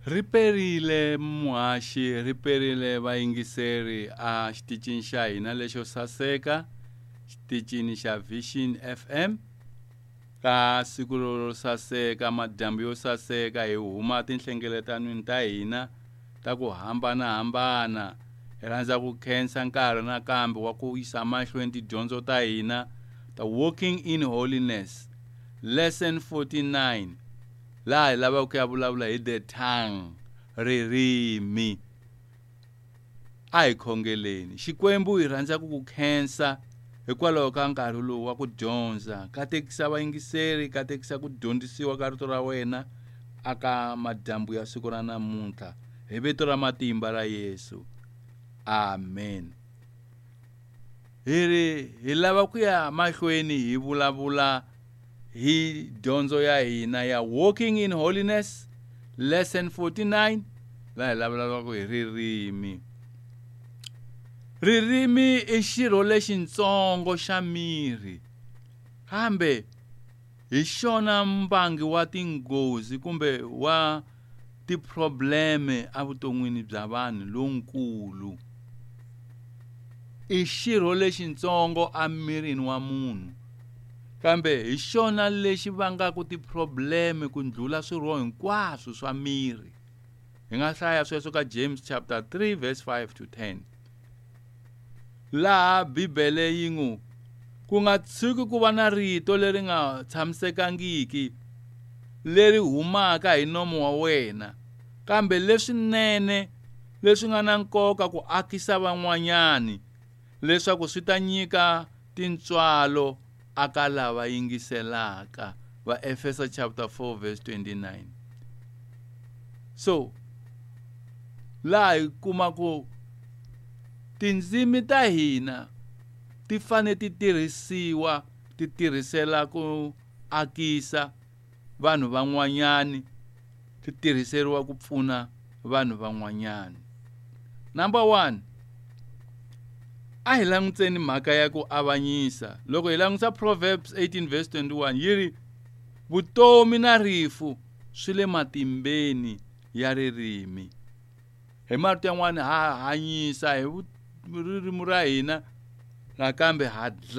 Ri perile muhaxi ri perile vayingiseri a xitichini xa hina lexo saseka xitichini xa Vision FM ka siku ro saseka madyambu yo saseka hi huma tinhlengeletanweni ta hina ta ku hambanahambana hi rhandza ku khensa nkarhi nakambe wa ku yisa mahlweni tidyondzo ta hina ta Walking in Holiness lesson 49 laha hi lavaka ku ya vulavula hi the tongue ririmi a hi khongeleni xikwembu hi rhandza ku ku khensa hikwalaho ka nkarhi lowu wa ku dyondza katekisa vayingiseri katekisa ku dyondzisiwa ka rito ra wena aka madyambu ya siku ra namuntlha hi vito ra matimba ra Yesu amen hi ri hi lava ku ya mahlweni hi vulavula hi dyondzo ya hina ya Walking in Holiness lesson 49 laha hi vulavulaka hi ririmi ririmi i xirho lexitsongo xa miri kambe hi xona mbangi wa tinghozi kumbe wa tiprobleme evuton'wini bya vanhu lonkulu i xirho lexitsongo emirini wa munhu kambe hi xona lexi vangaka tiprobleme ku ndlula swirho hinkwaswo swa miri hi nga hlaya sweswo ka James chapter 3 verse 5 to 10 laha Bibele yi ngu ku nga tshuki ku va na rito leri nga tshamisekangiki leri humaka hi nomo wa wena kambe leswinene leswi nga na nkoka ku akisa van'wanyani leswaku swi ta nyika tintswalo aka lava yingiselaka va Efesa chapter 4 verse 29 so laha hi kuma ku tindzimi ta hina ti fanele ti tirhisiwa ti tirhisela ku akisa vanhu van'wanyani ti tirhiseriwa ku pfuna vanhu van'wanyani number 1 a hi languteni mhaka ya ku avanyisa loko hi languta Proverbs 18 verse 21 yi ri vutomi na rifu swi le matimbeni ya ririmi hi marito yan'wana ha hanyisa hi ririmi ra hina nakambe ha dlaya.